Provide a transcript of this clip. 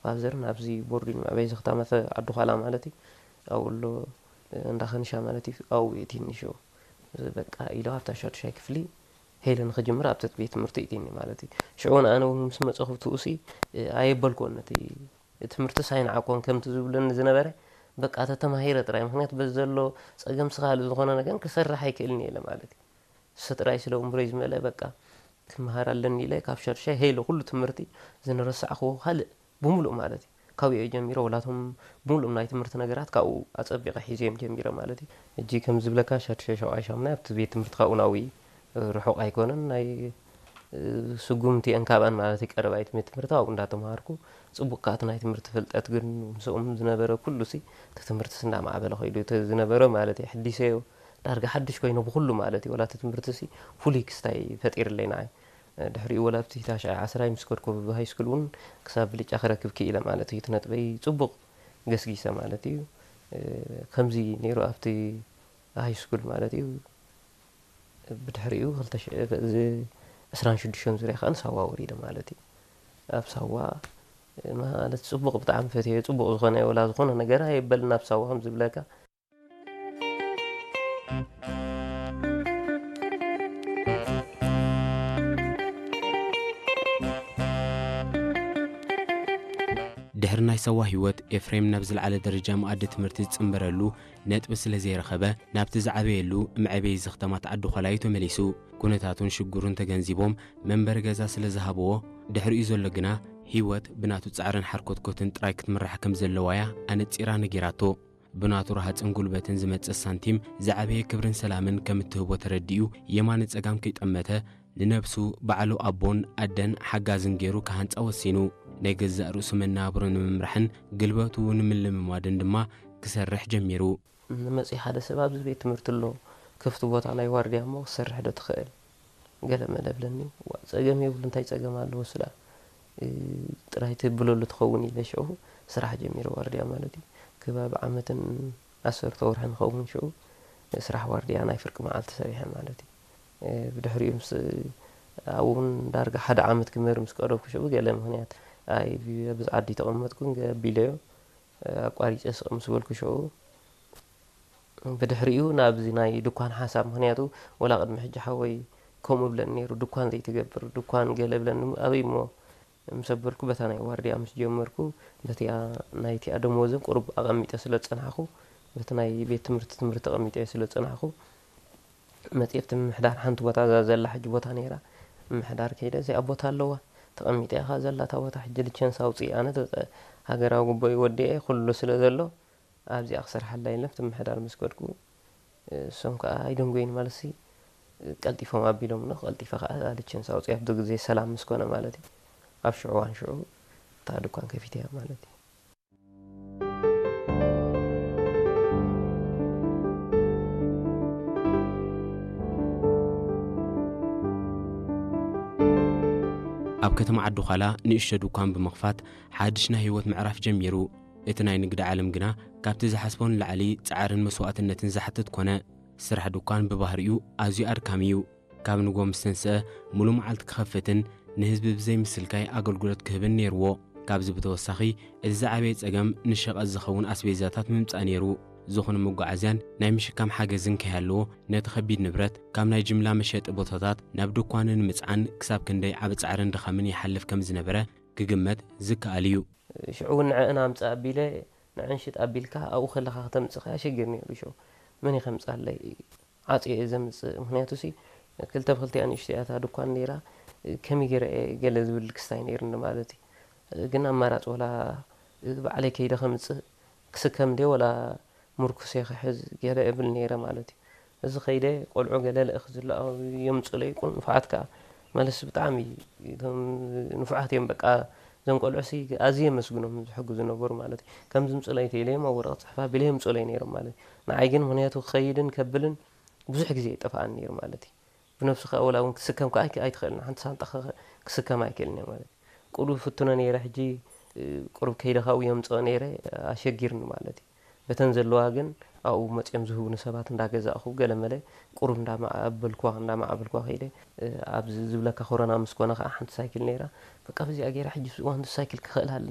ፋዘር ናብዚ ቦርዲንግ መዕበይ ዝኽታመተ ዓዲ ዃላ ማለት እዩ። ኣብኡ ኣሎ እንዳ ኸንሻ ማለት እዩ። ኣብኡ የእቲኒ ሽዑ። በቃ ኢለ ኣብታ ሻዱሻይ ክፍሊ ሄለ ንኽጅምር ኣብቲ ቤት ትምህርቲ እቲኒ ማለት እዩ። ሽዑ ንኣነ እውን ምስ መጸኹ ብትኡሲ ኣየበልክዎን ነቲ ትምህርትስ ኣይንዓቆን ከምቲ ዝብለኒ ዝነበረ በቃ ተተማሂረ ጥራይ። ምኽንያቱ በዚ ዘሎ ጸገም ስኻል ዝኾነ ነገር ክሰርሕ ኣይክእልን እየ ኢለ ማለት እዩ። እሱ ጥራይ ስለ እምብሮይ ዝመልአ በቃ ክመሃር ኣለኒ ኢለ ካብ ሻዱሻይ ሄለ ኩሉ ትምህርቲ ዝንረሳዕክዎ ካልእ ብምሉእ ማለት እዩ። ካብኡ ጀሚረ ወላቶም ብምሉእ ናይ ትምህርቲ ነገራት ካብኡ ኣጸቢቐ ሒዘዮም ጀሚረ ማለት እዩ። እጂ ከም ዝብለካ ሻዱሻይ ሻውዓይ ሻምናይ ኣብቲ ቤት ትምህርቲ ካብኡ ናብኡ ርሑቕ ኣይኮነን። ናይ ስጉምቲ እየን ካብኣን ማለት እዩ። ቀረባይ ቤት ትምህርቲ ኣብኡ እንዳተምሃርኩ ጽቡቕ ከኣ እቲ ናይ ትምህርቲ ፍልጠት ግን ምስኦም ዝነበረ ኩሉ ሲ እቲ ትምህርትስ እንዳማዕበለ ከይዱ እቲ ዝነበረ ማለት እዩ። ሕዲሰዮ ዳርጋ ሓድሽ ኮይነ ብኹሉ ማለት እዩ። ወላ እቲ ትምህርትሲ ፍሉይ ክስታይ ፈጢርለይ ንዓይ። ድሕሪኡ ወላ ኣብቲ ታሽዓይ ዓስራይ ምስ ከድኩ ኣብ ሃይስኩል እውን ክሳብ ብልጫ ክረክብ ክኢለ ማለት እዩ። እቲ ነጥበይ ጽቡቕ ገስጊሰ ማለት እዩ። ከምዚ ነይሩ ኣብቲ ሃይስኩል ማለት እዩ። ብድሕሪኡ ክልተ ሽሕ እዚ ዕስራን ሽዱሽተን ዙርያ ከኣ ንሳዋ ወሪደ ማለት እዩ። ኣብ ሳዋ ማለት ጽቡቕ ብጣዕሚ ፈትየ ጽቡቕ ዝኾነ ወላ ዝኾነ ነገር ኣየበልን ኣብ ሳዋ ከም ዝብለካ። ድሕሪ ናይ ሳዋ ህይወት ኤፍሬም ናብ ዝለዓለ ደረጃ መኣዲ ትምህርቲ ዝጽንበረሉ ነጥቢ ስለ ዘይረኸበ ናብቲ ዝዓበየሉ መዕበዪ ዘኽተማት ዓዲ ዃላ እዩ ተመሊሱ። ኩነታቱን ሽግሩን ተገንዚቦም መንበሪ ገዛ ስለ ዝሃብዎ ድሕሪኡ ዘሎ ግና ህይወት ብናቱ ጻዕርን ሓርኮትኮትን ጥራይ ክትምራሕ ከም ዘለዋ እያ ኣነጺራ ነጊራቶ። ብናቱ ረሃጽን ጉልበትን ዝመጽእ ሳንቲም ዝዓበየ ክብርን ሰላምን ከም እትህቦ ተረዲኡ የማነ ጸጋም ከይጠመተ ንነብሱ ባዕሉ ኣቦን ኣደን ሓጋዝን ገይሩ ክሃንጻ ወሲኑ። ናይ ገዛእ ርእሱ መነባብሮ ንምምራሕን ግልበቱ ንምልምማድን ድማ ክሰርሕ ጀሚሩ። ንመጺ ሓደ ሰብ ኣብዚ ቤት ትምህርቲ ኣሎ ክፍቲ ቦታ ናይ ዋርድያ እሞ ክሰርሕ ዶ ትኽእል? ገለ መለ ብለኒ። ዋ ጸገም የብሉ እንታይ ጸገም ኣለዎ እሱ ደኣ ጥራይ ትብለሉ ትኸውን ኢለ ሽዑ ስራሕ ጀሚረ ዋርድያ ማለት እዩ። ከባቢ ዓመትን ዓሰርተ ወርሒ ንኸውን ሽዑ ስራሕ ዋርድያ ናይ ፍርቂ መዓልቲ ሰሪሐ ማለት እዩ። ብድሕሪኡ ምስ ኣብኡ እውን ዳርጋ ሓደ ዓመት ክምህር ምስ ቀረብኩ ሽዑ ገለ ምኽንያት ኣይ ኣብዚ ዓዲ ተቐመጥኩ ገቢለዮ ኣቋሪፀ ስቕ ምስ በልኩ ሽዑ ብድሕሪኡ ናብዚ ናይ ድኳን ሓሳብ ምኽንያቱ ወላ ቅድሚ ሕጂ ሓወይ ከምኡ ብለኒ ነይሩ ድኳን ዘይትገብር ድኳን ገለ ብለኒ ኣበይ እሞ ምስ ኣበልኩ በታ ናይ ዋርድያ ምስ ጀመርኩ በቲኣ ናይቲኣ ደሞዝን ቁሩብ ኣቐሚጠ ስለ ዝጸናሕኩ በቲ ናይ ቤት ትምህርቲ ትምህርቲ ኣቐሚጠ ስለ ዝጸናሕኩ መጽኤ ኣብቲ ምምሕዳር ሓንቲ ቦታ እዛ ዘላ ሕጂ ቦታ ነይራ ምምሕዳር ከይደ እዚኣ ቦታ ኣለዋ ተቐሚጠ ኢኻ ዘላ እታ ቦታ ሕጂ ልቸንስ ኣውፅእ ኣነ ሃገራዊ ጉቦይ ወዲኤ ኩሉ ስለ ዘሎ ኣብዚኣ ክሰርሓላ ኢለ ኣብቲ ምምሕዳር ምስ ከድኩ እሶም ከዓ ኣይደንጎይን ማለት ሲ ቀልጢፎም ኣቢሎም ኖ ቀልጢፈ ከዓ እዛ ልቸንስ ኣውፅእ ኣብቲ ግዜ ሰላም ምስ ኮነ ማለት እዩ ኣብ ሽዑ ዋን ሽዑ እታ ድኳን ከፊተ እያ ማለት እዩ ኣብ ከተማ ዓዲ ዃላ ንእሽቶ ድኳን ብምኽፋት ሓድሽ ናይ ህይወት ምዕራፍ ጀሚሩ። እቲ ናይ ንግዲ ዓለም ግና ካብቲ ዝሓስቦ ንላዕሊ ጻዕርን መስዋእትነትን ዝሓትት ኮነ። ስራሕ ድኳን ብባህሪኡ ኣዝዩ ኣድካሚ እዩ። ካብ ንግሆ ምስ ተንስአ ሙሉእ መዓልቲ ክኸፍትን ንህዝቢ ብዘይ ምስልካይ ኣገልግሎት ክህብን ነይርዎ። ካብዚ ብተወሳኺ እቲ ዝዓበየ ጸገም ንሸቐጥ ዝኸውን ኣስቤዛታት ምምጻእ ነይሩ። ዝኾነ መጓዓዝያን ናይ ምሽካም ሓገዝን ከይሃለዎ ነቲ ከቢድ ንብረት ካብ ናይ ጅምላ መሸጢ ቦታታት ናብ ድኳኑ ንምጽዓን ክሳብ ክንደይ ዓቢ ጻዕርን ድኻምን ይሓልፍ ከም ዝነበረ ክግመት ዝከኣል እዩ። ሽዑ እውን ንዐአን ኣምጽእ ኣቢለ ንዐን ሽጥ ኣቢልካ ኣብኡ ከለኻ ክተምጽእ ከኣ ሽግር ነይሩ። ሽዑ መን እዩ ከምጽኣለይ? ዓጽየ እየ ዘምጽእ። ምኽንያቱ ሲ ክልተ ብክልቲኣ ንእሽቶ እያ እታ ድኳን ነይራ። ከመይ ገይረ እየ ገለ ዝብል ክስታይ ነይሩኒ ማለት እዩ። ግን ኣማራጺ ወላ ባዕለይ ከይደ ከምጽእ ክስከም ድየ ወላ ምርኩሰ ክሕዝ ገለ እብል ነይረ ማለት እዩ። እዚ ከይደ ቆልዑ ገለ ልእኽ ዝለኣኹ የምጽኡለይ ቁ ንፉዓት ከኣ ማለት ብጣዕሚ እቶም ንፉዓት እዮም በቃ እዞም ቆልዑ ሲ ኣዝየ የመስግኖም ዝሕግዙ ነበሩ ማለት እዩ። ከም ዝምጽኡለይ ተኢለዮም ኣብ ወረቐት ጽሕፍ ኣቢለ የምጽኡለይ ነይሮም ማለት እዩ። ንዓይ ግን ምኽንያቱ ክኸይድን ከብልን ብዙሕ ግዜ ይጠፍኣኒ ነይሩ ማለት እዩ። ብነብሱ ከኣ ወላ እውን ክስከም ከኣ ኣይክ- ኣይትኽእልን ሓንቲ ሳንጣ ከ- ክስከም ኣይክእልን እየ ማለት እዩ። ቁሩብ ፍትኖ ነይረ ሕጂ እ፣ ቁሩብ ከይደ ካብኡ የምፅኦ ነይረ ኣሸጊርኒ ማለት እዩ። በተን ዘለዋ ግን ኣብኡ መፅኦም ዝህቡኒ ሰባት እንዳገዛእኹ ገለ መለ ቁሩብ እንዳማዕበልኩዋ እንዳማዕበልኩዋ ከይደ እ፣ ኣብዚ ዝብለካ ኮሮና ምስ ኮነ ከዓ ሓንቲ ሳይክል ነይራ በቃ በዚኣ ገይረ ሕጂ እዋን ሳይክል ክኽእል ኣለኒ